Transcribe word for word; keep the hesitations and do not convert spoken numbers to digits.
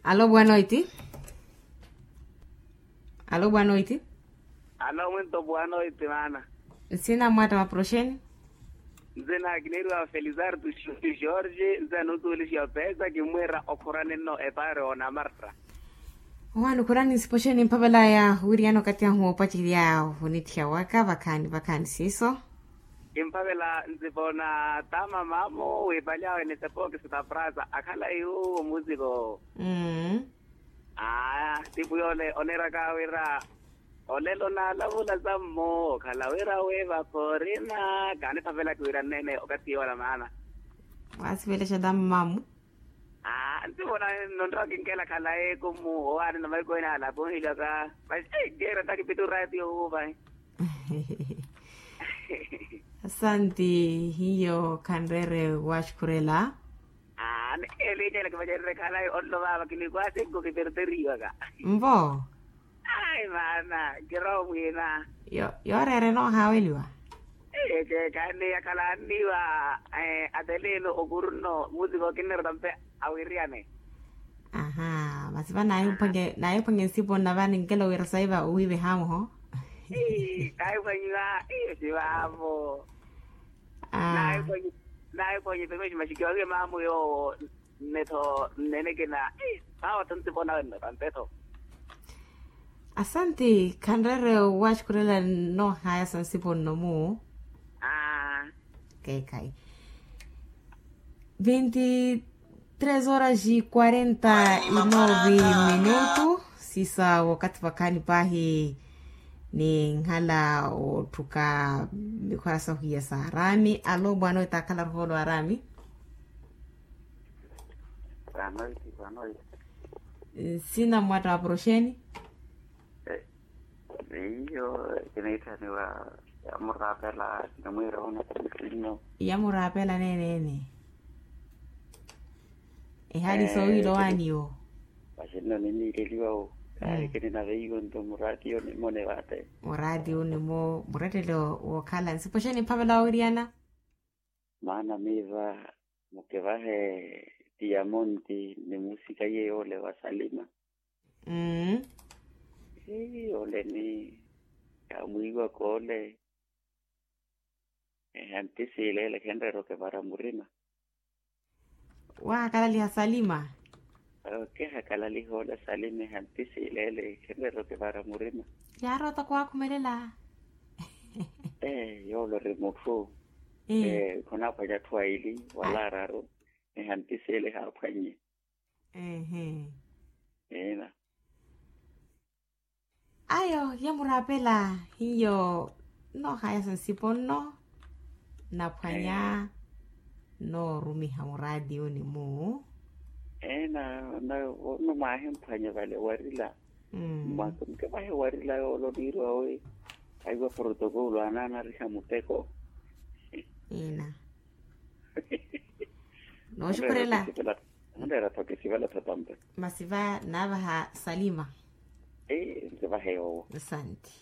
Alo bwanoiti. Alo bwanoiti. Alo mwinto bwanoiti maana. Nsina mwata wa proxeni. Nsina kiniiriwa felizardo, george nsina nutuulixiwa pesa kimwira okhurani nno epare ona marta. Owaani okhurani nsipoxeni mphavelaya wiriyana okati ahu opacerya onithiya waka vakhaani vakhaani siiso. Kimphavela nsipoona tama mamu wipali awe ni sepokisi ta prasa akhala iwuwo musiko. Aaya tipu yoole oneeraka wira olelo naalavula sammo okhala wira wiiva khorina. Kaaniphavelaka wira nneene okati yoola maana. Waasivelexa tama mamu. Aa nsipoona nontta wakinkela khalayi kumu owaani na maiko ene alakunhilaka. Masi keera takipita oratiyo wuuvahi. Asanti. Hiyo khanreere waxukhurela. Aa ni elinyela kivacererye khalayi onlo vaava kinikwasi nkukiperteriwaka. Mvo. Ayi maana kiroho mwiina. Yooreera enoohaaweliwa. Ekeekhaani yakhala anniiwa. Ateliino okurunno musiko kinnerota mpe awiriyane. Aha masi va naahiphwanye nsipo nna va ninkela owira saiva owiive haamuho. Naahiphwanyiwa. Iyo sivaavo. Naahiphwanyiwa. Pepe ximaxikiwa wiye maamu yoowo. Nne tho nnene kina. Vaawa tho nsipo nawe nne vampe tho. Asanti khanreere waxukhurela noohaya sa nsipo nno mu. Keekhayi. Veintitrês horas e quarenta e nove minutos. Sisa wakathi vakhaani pahi ni nkhala otthuka. Mikhwasa ohiya sa arami alo bwana oyo taakhala ruhoolo arami. Nsina mwatta wa poroxeni. Iyo kiniitthaniwa yamuraapela kinimwiira ona kinisinno. Yamuraapela neeneene. Ehali soowiilowaani yo. Vaxinno niniileliwa wo. Kaari kininaveiwe nto muraatiyo nimone vaate. Muraatiyo nimo murettelo wookhala nsipo xeni mphavela wawiriyana. Maana miiva mukivahe tiyamonti ni musika iye yoole wa salima. Mmm. Ii ole ni yaamwiiwaka ole. Ehanti siileele khenreera okivara murima. Wahakalaliha salima. Okihakalaliha ole salima ehanti siileele khenreera okivara murima. Yaaroota kuwaakhumelela. Ee yoole ori mutthu. Ee khonaaphwanya atthu aili wala araru. Ehanti siileele ehaaphwannye. Ehe. Ina. Ayo yamuraapela hiyo. Noohaya sa nsipo nno naphwanya. Noorumiha muraatiyo ni mu. Ina. Ono mwahimphwanya vale warila. Mwaka muke vahe warila yoole oniiriwa wi. Aiwa protokolo anaanariha muteko. Ina. Nooxukhurela. Onreera tho kisivala tho tampe. Masi va naavaha salima. Ee nsivahe yoowo. Asanti.